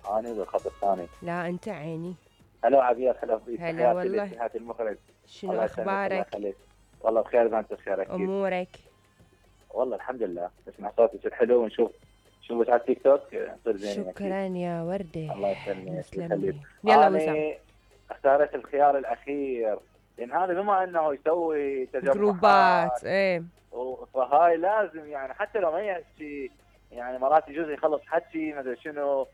اني بالخط الثاني. لا انت عيني. هلا عبير، هلا بيك، هلا والله. تحياتي المخرج. شنو الله يسلمك، الله اخبارك؟ يخليك. والله بخير، انت بخير اكيد. امورك؟ والله الحمد لله، نسمع صوتك الحلو ونشوف شوفك على التيك توك نصير زينين. شكرا يا وردة. الله يسلمك يسلمك. يلا وسام. اختارت الخيار الاخير لان هذا بما انه يسوي تجمعات جروبات. ايه فهاي لازم يعني حتى لو ما يحكي، يعني مرات يجوز يخلص حكي ما ادري شنو،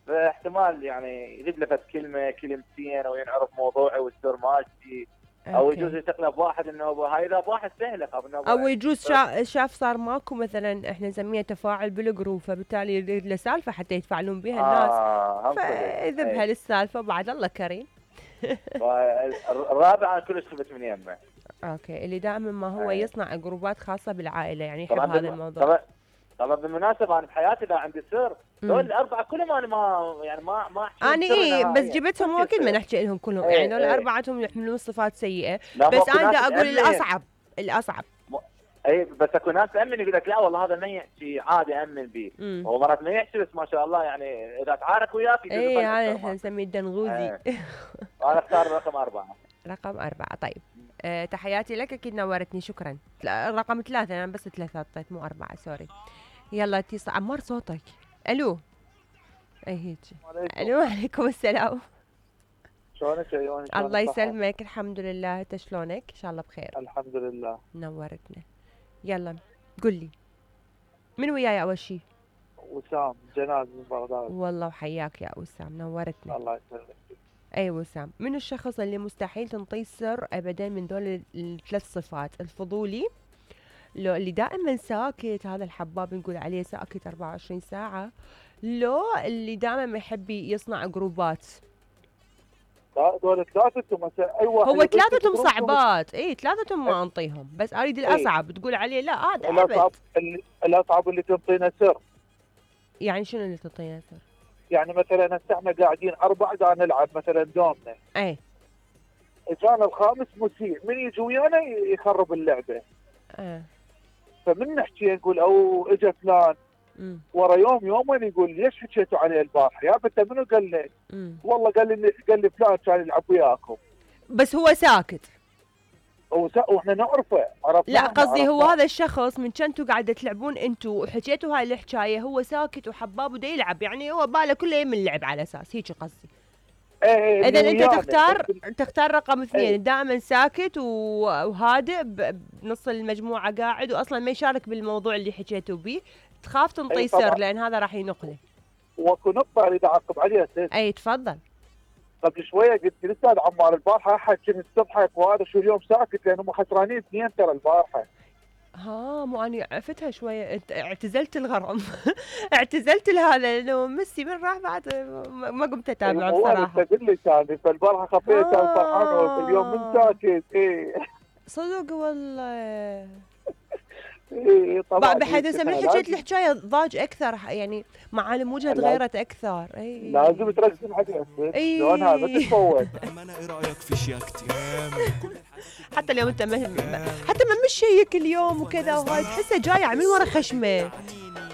فاحتمال يعني يجيب له كلمه كلمتين او ينعرف موضوعي والسر مالتي، او يجوز يتقلب واحد انه هاي اذا واحد سهل او يجوز شاف صار ماكو مثلا احنا نسميها تفاعل بالجروب، فبالتالي يريد له سالفه حتى يتفاعلون بها الناس، فيذبها للسالفه بعد الله كريم. الرابع انا كلش خفت من يمه. اوكي، اللي دائما ما هو يصنع جروبات خاصه بالعائله، يعني يحب هذا الموضوع. طبعا بالمناسبه انا بحياتي اذا عندي سر دول الاربعه كلهم انا ما احكي انا بس جبتهم واكيد ما نحكي لهم كلهم، يعني دول اربعتهم يحملون صفات سيئه، بس انا دا اقول الاصعب. اي بس اكو ناس تامن يقول لك لا والله هذا ما يحكي عادي امن به، هو مرات ما يحكي بس ما شاء الله يعني اذا تعارك وياك اي هذا احنا نسميه الدنغوزي. انا اختار رقم 4. رقم 4 طيب. تحياتي لك، اكيد نورتني، شكرا. رقم 3 انا بس 3 حطيت مو 4 سوري. يلا اتصال. عمار صوتك. الو. اي هيك. الو عليكم السلام. شلونك عيوني؟ الله يسلمك، الحمد لله، انت شلونك؟ ان شاء الله بخير. الحمد لله. نورتنا. يلا قل لي من وياي اول شيء؟ وسام جناد من بغداد. والله وحياك يا وسام، نورتنا. الله يسلمك. اي وسام، من الشخص اللي مستحيل تنطيه سر ابدا من دول الثلاث صفات؟ الفضولي، لو اللي دائما ساكت، هذا الحباب نقول عليه ساكت 24 ساعة، لو اللي دائما ما يحب يصنع جروبات؟ لا دول ثلاثتهم اي واحد هو ثلاثتهم صعبات، اي ثلاثتهم ما انطيهم، بس اريد الاصعب تقول عليه لا هذا الاصعب. الاصعب اللي تنطينا سر. يعني شنو اللي تعطينا سر؟ يعني مثلا هسه احنا قاعدين 4 قاعد نلعب مثلا دومنا، اي اجانا الخامس مسيء، من يجي ويانا يخرب اللعبه. فمن نحكي نقول او اجى فلان ورا يومين يقول ليش حكيتوا عليه البارحه؟ يا انت منو قال لك؟ والله قال لي فلان كان يلعب وياكم. بس هو ساكت. واحنا نعرفه، عرفنا. لا قصدي هو هذا الشخص من كنتوا قاعده تلعبون انتوا وحكيتوا هاي الحكايه، هو ساكت وحباب ودا يلعب، يعني هو باله كله من اللعب على اساس هيك قصدي. اذا انت تختار رقم 2، دائما ساكت وهادئ بنص المجموعه قاعد واصلا ما يشارك بالموضوع اللي حكيتوا به، تخاف تنطي سر لان هذا راح ينقله. واكو نقطه اريد اعقب عليها سيد. اي تفضل. قبل شويه قلت للاستاذ عمار البارحه احد كنت تضحك وهذا شو اليوم ساكت لانهم خسرانين 2 ترى البارحه. مو اني عفتها شويه، اعتزلت الغرام. اعتزلت لهذا لانه ميسي من راح بعد ما قمت اتابعه بصراحه. هو اللي ثاني فالبارحه خفيت كان فرحان اليوم من ساكت. صدق والله. طبعا بحيث من حكيت الحكايه ضاج اكثر، يعني معالم وجهه تغيرت اكثر. لازم تركز عليها شلون هذا تتفوت. ايه رايك في شياكتي؟ حتى اليوم انت حتى ما مشي هيك اليوم وكذا وهاي تحسه جاي من ورا خشمه.